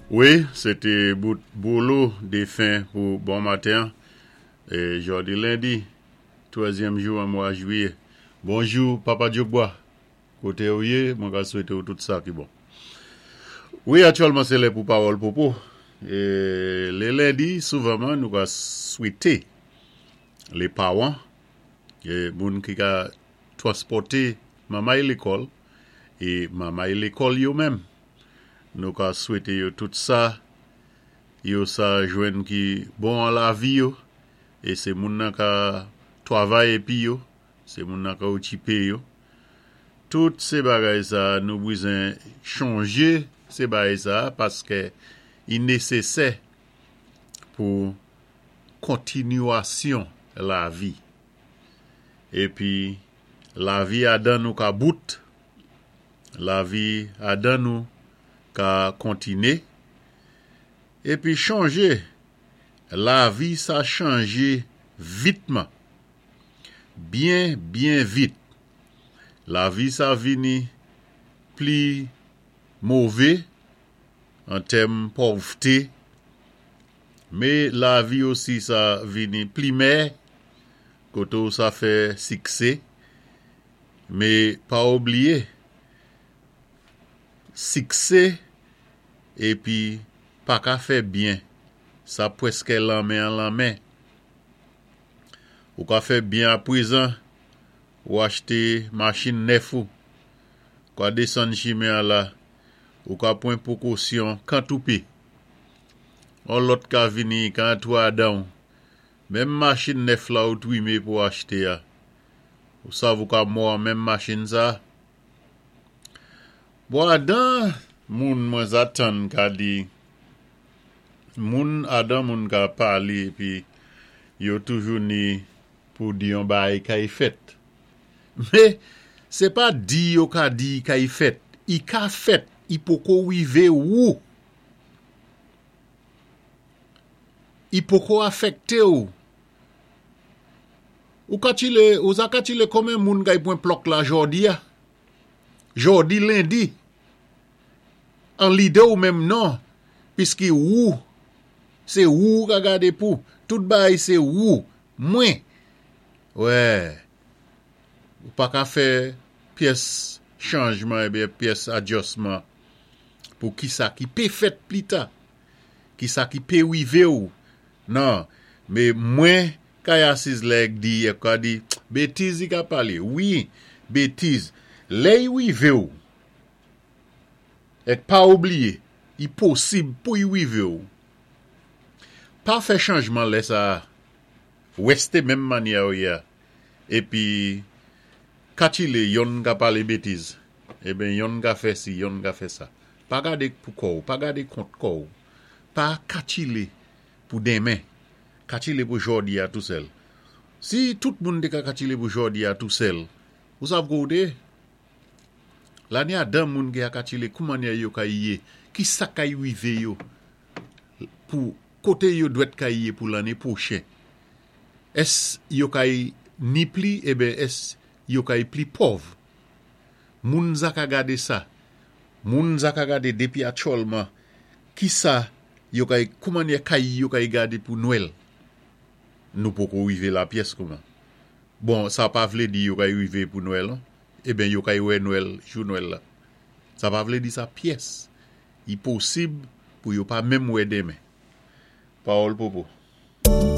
Wi, sé té bout Bolo défen pou bon maten é jòdi lendi, twèzyèm jou an mwa jwiyé. Bonjou Papa Djogba, koté ou yé, mwen ka swété ou tout sa ki bon. Wi, aktyèlman sé lè pou pawòl popo. É lé lendi, souvanman nou ka swété lé pawan, é moun ki ka twanspòté manmay lékòl é manmay lékòl yo menm. Nou ka swete yo tout sa yo sa jwenn ki bon an lavi yo e se moun nan ka twavay epi yo se moun nan ka okipe yo. Tout se bagay sa nou bwizen chonje se bagay sa paske i nesesè pou kontinuasyon lavi. Epi lavi adan nou ka bout. Lavi adan nou ka kontine. Epi chonje, lavi sa chanje vitman. Byen byen vit. Lavi sa vini pli move an tèm pòvte, me lavi osi sa vini pli mè kote w sa fè sikse. Me pa oubliye sikse epi pa ka fè byen sa pwèskè lanmen an lanmen. Ou ka fè byen aprezan ou achte machin nèf ou ka desann chimen an la ou ka pwan pwokosyon kantoupe. On lòt ka vini ka antre adan w menm machin nèf la ou twime pou achte a. Ou sav ou ka mò an menm machin sa. Bon adan moun mwen za tann ka di moun adan moun ka pale epi yo toujou ni pou di yon bagay kay fèt. Me se pa di yo ka di kay fèt i ka fèt i poko rive wou. I poko afekte w. Ou katile, ou za katile konmen moun kay pwen plòk la jòdi a? Jòdi lendi. An lide ou menm non, piski wou, se wou ou ka gade pou, tout bagay se wou, mwen. Wè, ou pa ka fè pyès chanjman ebyen pyès adjòsman pou kisa ki pe fèt plita, kisa ki pe rive ou. Nan, me mwen Kay asiz lè k di yè ka di betiz li ka pale wi betiz lè y rive w ek pa oubliye i posib pou y rive w pa fè chanjman lè sa reste menm manyè w ye a epi katile yonn ka pale betiz eben yonn ka fè si yonn ka fè sa pa gade pou kò w pa gade kont kò w pa katile pou denmen. Katchile pou jòdi a tou sèl. Si tout moun te ka katchile pou jòdi a tou sèl, ou sav kou ou te ye? Lane a dan moun ki a katchile kou manyè yo ka ye, ki sa kay rive yo pou kote yo dwèt kay ye pou lane pwochen. Es yo kay ni pli eben es yo kay pli pòv. Moun za ka gade sa. Moun za ka gade depi atchòlman ki sa Yo kay kouman yè kay yo kay gade pou nwèl nou poko rive la pyès kouman bon sa pa vle di yo kay rive pou nwèl non eben yo kay wè nwèl jou nwèl la sa pa vle di sa pyès li posib pou yo pa menm wè demen pawòl popo.